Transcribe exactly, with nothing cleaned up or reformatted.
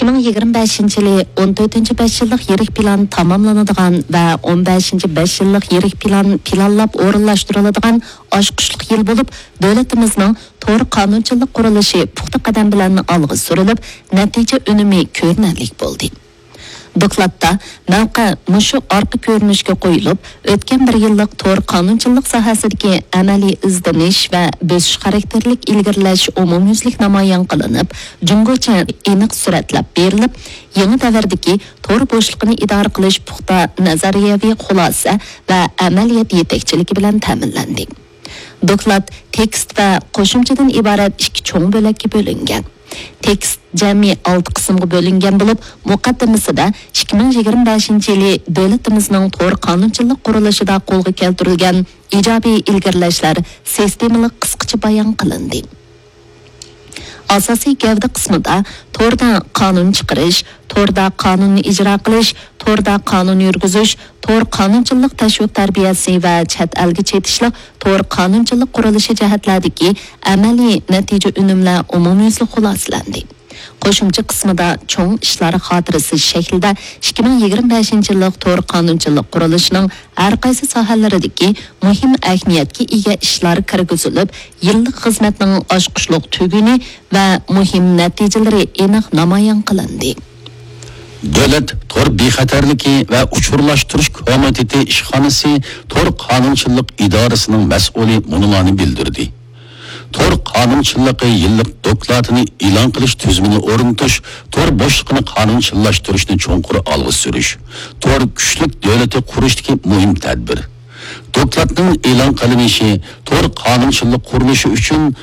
ئىككى مىڭ يىگىرمە بەشىنچى يىلى ئون تۆتىنچى بەش يىللىق يىرىك پىلان تاماملىنىدىغان ۋە ئون بەشىنچى بەش يىللىق يىرىك پىلان پىلانلاپ ئورۇنلاشتۇرۇلىدىغان ئاچقۇچلۇق يىل بولۇپ، دۆلىتىمىزنىڭ تور قانۇنچىلىق قۇرۇلۇشى پۇختا قەدەم بىلەن ئالغا سۈرۈلۈپ، نەتىجە ئۈنۈمى كۆرۈنەرلىك بولدى. دوكلاتتا مەۋقە مۇشۇ ئارقا كۆرۈنۈشكە قويۇلۇپ، ئۆتكەن بىر يىللىق تور قانۇنچىلىق ساھەسىدىكى ئەمەلىي ئىزدىنىش ۋە بۆسۈش خاراكتېرلىك ئىلگىرىلەش ئومۇميۈزلۈك نامايان قىلىنىپ، جۇڭگوچە ئېنىق سۈرەتلەپ بېرىلىپ، يېڭى دەۋردىكى تور بوشلۇقىنى ئىدارە قىلىش پۇختا نەزەرىيەۋى خۇلاسە ۋە ئەمەلىيەت يېتەكچىلىكى بىلەن تەمىنلەندى. دوكلات تېكىست ۋە قوشۇمچىدىن ئىبارەت ئىككى چوڭ بۆلەككە بۆلۈنگەن. تېكىست جەمئىي ئالتە قىسىمغا بۆلۈنگەن بولۇپ، مۇقەددىمىسىدە ئىككى مىڭ يىگىرمە بەشىنچى يىلى دۆلىتىمىزنىڭ تور قانۇنچىلىق قۇرۇلۇشىدا قولغا كەلتۈرۈلگەن ئىجابىي ئىلگىرىلەشلەر سىستېمىلىق قىسقىچە بايان قىلىندى. ئاساسىي گەۋدە قىسمىدا توردا قانۇن چىقىرىش، توردا قانۇننى ئىجرا قىلىش، توردا قانۇن يۈرگۈزۈش، تور قانۇنچىلىق تەشۋىق تەربىيەسى ۋە چەت ئەلگە چېتىشلىق تور قانۇنچىلىق قۇرۇلۇشى جەھەتلەردىكى ئەمەلىي نەتىجە ئۈنۈملەر ئومۇميۈزلۈك خۇلاسىلەندى. قوشۇمچە قىسمىدا چوڭ ئىشلار خاتىرىسى شەكلىدە ئىككى مىڭ يىگىرمە بەشىنچى يىللىق تور قانۇنچىلىق قۇرۇلۇشىنىڭ ھەر قايسى ساھەلىرىدىكى مۇھىم ئەھمىيەتكە ئىگە ئىشلار كىرگۈزۈلۈپ، يىللىق خىزمەتنىڭ ئاچقۇچلۇق تۈگۈنى ۋە مۇھىم نەتىجىلىرى ئېنىق نامايان قىلىندى. دۆلەت تور بىخەتەرلىكى ۋە ئۇچۇرلاشتۇرۇش كومىتېتى ئىشخانىسى تور قانۇنچىلىق ئىدارىسىنىڭ مەسئۇلى مۇنۇلارنى بىلدۈردى. تور قانۇنچىلىقى يىللىق دوكلاتىنى ئېلان قىلىش تۈزۈمىنى ئورنىتىش، تور بوشلۇقىنى قانۇنچىللاشتۇرۇشنى چوڭقۇر ئالغا سۈرۈش، تور كۈچلۈك دۆلىتى قۇرۇشتىكى مۇھىم تەدبىر. دوكلاتنىڭ ئېلان قىلىنىشى تور قانۇنچىلىق قۇرۇلۇشى ئۈچۈن